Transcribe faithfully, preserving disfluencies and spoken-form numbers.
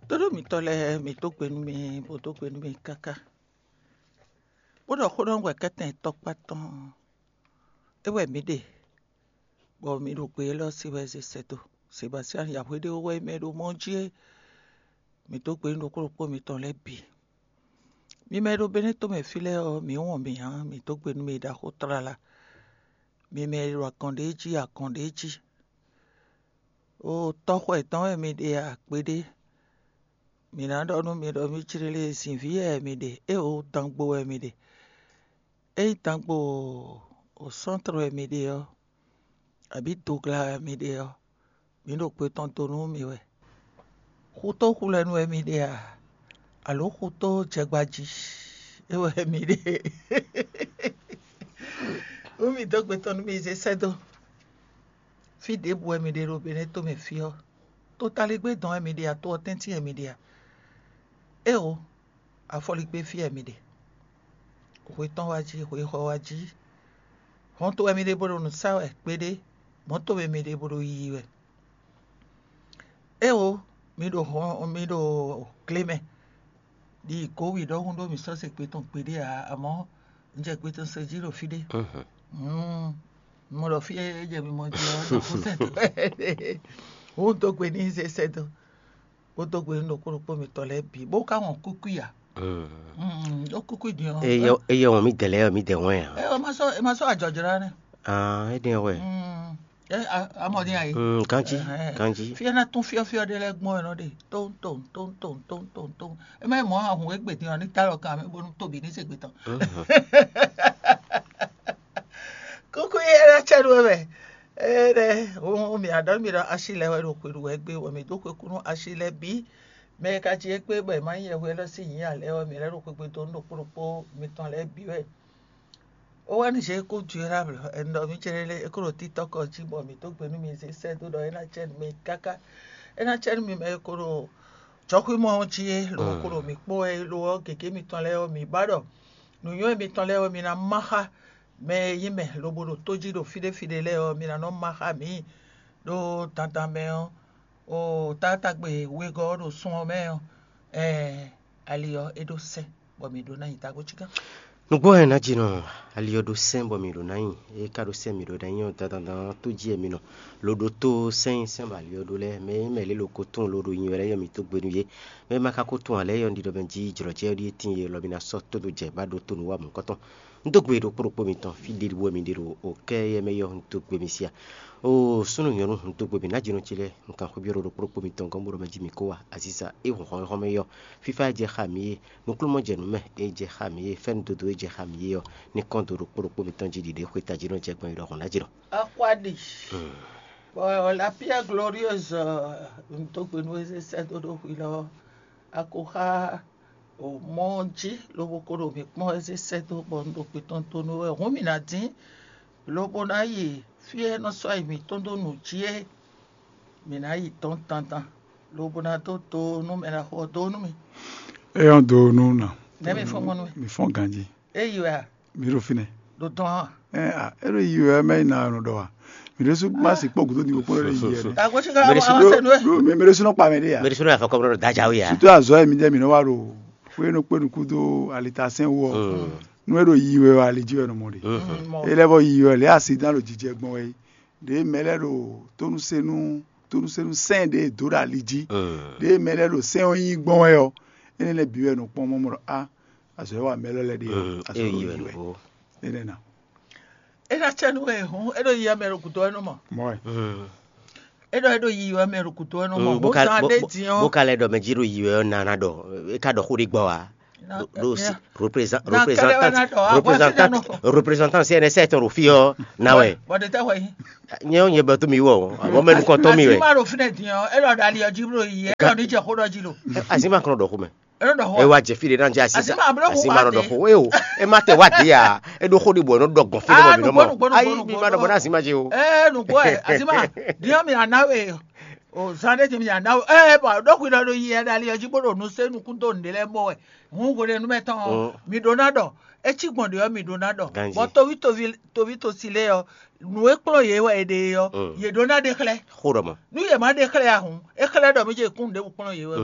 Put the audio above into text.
Tóɖó mitɔn lɛ́ɛ, mǐ dó gbe nú mi, bó dó gbe nú mi káká, bó ɖɔ xó ɖɔ nú wɛ kɛ́tɛn tɔkpá tɔn. É wɛ mǐ ɖe, bɔ mǐ ɖo gbe élɔ́ sí wɛ zé sɛ́ dó. Sebastian Yahweh ɖé wɛ mɛ ɖo mɔ jí é. Mǐ dó gbe nú ɖokpó ɖokpó mitɔn lɛ́ɛ bǐ. Mi mɛ e ɖo Benɛ́to mɛ fí lɛ́ɛ ɔ́, mǐ wɔn mǐ ǎ, mǐ dó gbe nú mi ɖaxó tlala. Mi mɛ e ɖo agɔn ɖé jí agɔn ɖé jí. O tɔxɔ yětɔn wɛ mi ɖe a, kpeɖé? Mǐ ná ɖɔ nú mi ɖɔ mǐ jlé lé, zǐnví wɛ mi ɖe, éeǒ, dangbo wɛ mi ɖe. Ényí dangbo o sɔ́ntrɔ wɛ mi ɖe ɔ́, abǐ dogla wɛ mi ɖe ɔ́, mǐ ɖo gbe tɔn do nú mi wɛ. Xutó xulɛnu wɛ mi ɖe a, alǒ xutó jɛgbají? É wɛ mi ɖe. Nú mi dó gbe tɔn nú mi zé sɛ́ dó. Fí ɖěbǔ wɛ mi ɖe ɖo Benɛ́to mɛ fí ɔ́, totaligbé dɔn wɛ mi ɖe a, to ɔ́ tɛ́ntin wɛ mi ɖe a? Éeǒ, afɔligbé fí wɛ mi ɖe. Hwe tɔn wá jí, hwe xɔ wá jí. Hɔnto wɛ mi ɖe bó ɖo nǔ sa wɛ kpeɖé, mɔ̌to wɛ mi ɖe bó ɖo yiyi wɛ. Éeǒ, mi ɖo hɔn mi ɖo gle mɛ, ɖi gǒwi ɖɔhun ɖó mǐ sɔ́ se gbe tɔn gbeɖé ǎ, amɔ̌ un jɛ gbe tɔn se jí ɖo fí ɖé. Mɔ ɖɔ fí e jɛ mi mɔ jí ɔ́, ɖo kú sɛ́ dó. Wǔ dó gbe n'i zé sɛ́ dó, bó dó gbe nú ɖokpó ɖokpó mitɔn lɛ́ɛ bǐ, bó ka wɔn kúkú i ǎ. Ɖó kúkú i din ɔ́, Eye eye wɔn mi dɛ lɛ mi dɛ wɛn a? Ɛ, ɔ ma sɔ́ ɛ ma sɔ́ ajɔjlá nɛ. Ah, e dɛn wɛ. Ɛ, a- amɔ din ayi. Mm, kanji, Ɛhɛn. Kanji. Fia na tún fiɔfiɔ ɖe lɛ gbɔn ɛ nɔ ɖe, tom tom tom tom tom tom tom. E ma mɔ ahun egbe din ɔ, ni ta lɔ kan mi bonu tobi ni se gbe tɔn. Mhm. Kuku ye la cɛ ɖo mɛ. Ene, o mi aɖɔ mi ɖɔ asi lɛ wɛ ɖo xwe ɖu wɛ gbe, wɔ mi do xwe kunu asi lɛ bi. Mɛ ka ci egbe bɔ e ma nyɛ hwe lɔ si nyi alɛ wɛ mi lɛ ɖo xwe gbe do nu ɖokpo ɖokpo mitɔn lɛ bi wɛ. O wɛ ni je ko durable, e nɔ mi cɛ lɛ e ko ɖo TikTok ji bɔ mi do gbe nu mi ze sɛ do ɖɔ e na cɛ nu mi kaka. E na cɛ nu mi mɛ e ko ɖo jɔxwimɔ ji e lo ko ɖo mi kpɔ e lo ɔ gege mitɔn lɛ ɔ mi ba ɖɔ nǔnywɛ́ mitɔn lɛ ɔ mi na ma xa mɛ e nyí mɛ lobo ɖo tó jí ɖo fí ɖé fí ɖé lɛ́ɛ ɔ́, mi ná nɔ má xá mǐ ɖó dandan mɛ ɔ́. O taátagbe wegɔ́ ɔ́ ɖo sun ɔ́ mɛ ɔ́, ɛɛ ali ɔ́ é ɖó sɛ́n, bɔ mǐ ɖó ná nyi tagbó cígán. Nǔgbó wɛ ná jinɔ ali ɔ́ ɖó sɛ́n bɔ mǐ ɖó ná nyi, é ka ɖó sɛ́n mǐ ɖó ná nyi ɔ́, dandan tó jí wɛ mi nɔ lo ɖó tó sɛ́n sɛ́n bɔ ali ɔ́ ɖó lɛ́ɛ, mɛ e mɛ lě lo ko tunwun lo ɖo nyi wɛ lɛ́ɛ yɔ mǐ tó gbe nú yě. Mɛ e ma ka ko tunwun ǎ lɛ́ɛ yɔ un ɖiɖɔ mɛ jí jlɔ̌ jɛ ɔ́ ɖíe tíin yě lɔ mi ná sɔ́ tódó jɛ bá ɖó tó nǔ wa mɔ̌hunkɔtɔn. Un dó gbe ɖokpó ɖokpó mitɔn, fí ɖěɖú wɛ mi ɖe ɖo o kɛ́ yɛ mɛ yɔ un dó gbe mi sia. Oo súnnu nyɔ̌nu, un dó gbe mi ná jinɔ ce lɛ́ɛ, un kan xwé byɔ́ ɖo ɖokpó ɖokpó mitɔn gɔ́n bó ɖɔ mɛ jí mi kó wa aziza é hun xɔnxɔn mɛ yɔ. Fífá e jɛ xá mi é, nukúnnú jɛ nǔ mɛ e jɛ xá mi é, fɛ́nú dodo e jɛ xá mi é ɔ́, ní kɔn dó ɖokpó ɖokpó mitɔn jí ɖiɖe xwé tají nɔ jɛ gbɔn yi ɖɔhun ná jí nɔ. Akwáɖi. Bɔ la pierre glorieuse, un dó gbe nú é sɛ́ dó ɖó hwi lɔ, a ko xá o mɔ jí lobo ko ɖo mǐ kpɔ́n wɛ zé sɛ́ dó bɔ un ɖo gbe tɔn donu wɛ hǔn mǐ ná dín, lobo ná yi fí e nɔ sɔ́ yi mǐtɔn dó nǔ jí é. Mǐ ná yi dɔn dandan, lobo ná dó do nú mɛ ná xo ɔ́ dó nú mì. É ɔ́ do nú nà. Nɛ̌ mi fɔ́n gbɔn nú mì? Mi fɔ́n ganjí. É yi wɛ a? Mi ɖo fínɛ́. Ɖo dɔn a? Ɛ a é ɖo yi wɛ mɛ yi na nɔ ɖɔ wa. Mi ɖo sú má sì kpɔ́ gǔdo ní kpɔ́ lórí yi yɛ. Agbésí ká wá wá sẹ́nu ẹ̀. Ɖo mi mi ɖo sú nɔ kpa mɛ ɖé ya. Mɛ ɖisó yà fɔ kɔmɔ ɖo dajawo yà. Surtout azɔ yɛ mi jɛ mi nɔ wa ɖo fue no kpe nuku do alita sɛn wɔ. Nu e ɖo yi wɛ wa ali ji wɛ nɔ mɔ ɖe. E lɛ bɔ yi wɛ lɛ asi dan ɖo jijɛ gbɔn wɛ. Ɖe mɛ lɛ ɖo tónúsenu tónúsenu sɛn ɖe do ɖo ali ji. Ɖe mɛ lɛ ɖo sɛn ɔ nyi gbɔn wɛ ɔ. Ene lɛ bi wɛ nɔ kpɔn mɔ mɔ ɖɔ a azɔ yɛ wa mɛ lɛ lɛ ɖe azɔ ɖo yi wɛ. Ene na. É ná cɛ nú wɛ hǔn é ɖo yi amɛ ɖo gǔdo wɛ nú mɔ. Mɔ wɛ. É ɖɔ é ɖo yi wɛ mɛ ɖo gǔdo wɛ nú mɔ. Bó ka bó ka lɛ ɖɔ mɛ jí ɖo yi wɛ ɔ́ nana ɖɔ é ka ɖɔ xó ɖé gbɔ wa. Ɖo si représentante représentante représentante C N S tɔn ɖo fí ɔ́ na wɛ. Bɔdɛ tɛ wɛ yi. Nyɛ ɔ́ nyɛ bɛ tó mi wɔ o, àbọ̀ mɛ nukɔn tɔn mi wɛ. Àti má ɖo fínɛ dín ɔ́, é ɖɔ ɖali ɔjí bló yi, é ɖɔ ní jɛ xó ɖɔ jí lo. Asi ma kɔnɔ ɖɔ xó mɛ. É ɖɔ xó. E wa jɛ fi ɖe na jɛ asi sa. Asi ma ɖɔ xó e o. E ma tɛ wa di ya. E ɖo xó ɖi bɔ e nɔ ɖɔ gbɔn fi ɖe bɔ mi nɔ mɔ. Ayi mi ma ɖɔ bɔ na asi ma jɛ o. Ee nukpɔ ɛ asi ma diɔ mi ana we o zan ɖe ti mi ana we ee bɔ ɖo xwi ɖɔ ɖo yi ɛ ɖali ɔjí bó ɖo nu se nukún tó nɖe lɛ mɔ wɛ. Hun hwenɛnu mɛ tɔn mi ɖo na ɖɔ etsi gbɔn ɖe ɔ mi ɖo na ɖɔ bɔ tovi tovi tovi tosi lɛ ɔ nu e kplɔn yě wɛ e ɖe ɔ yě ɖo na ɖe xlɛ. Xó ɖɔ mɔ. Nu yě ma ɖe xlɛ ahun e xlɛ ɖɔ mi jɛ kún ɖěbǔ kplɔn yě wɛ.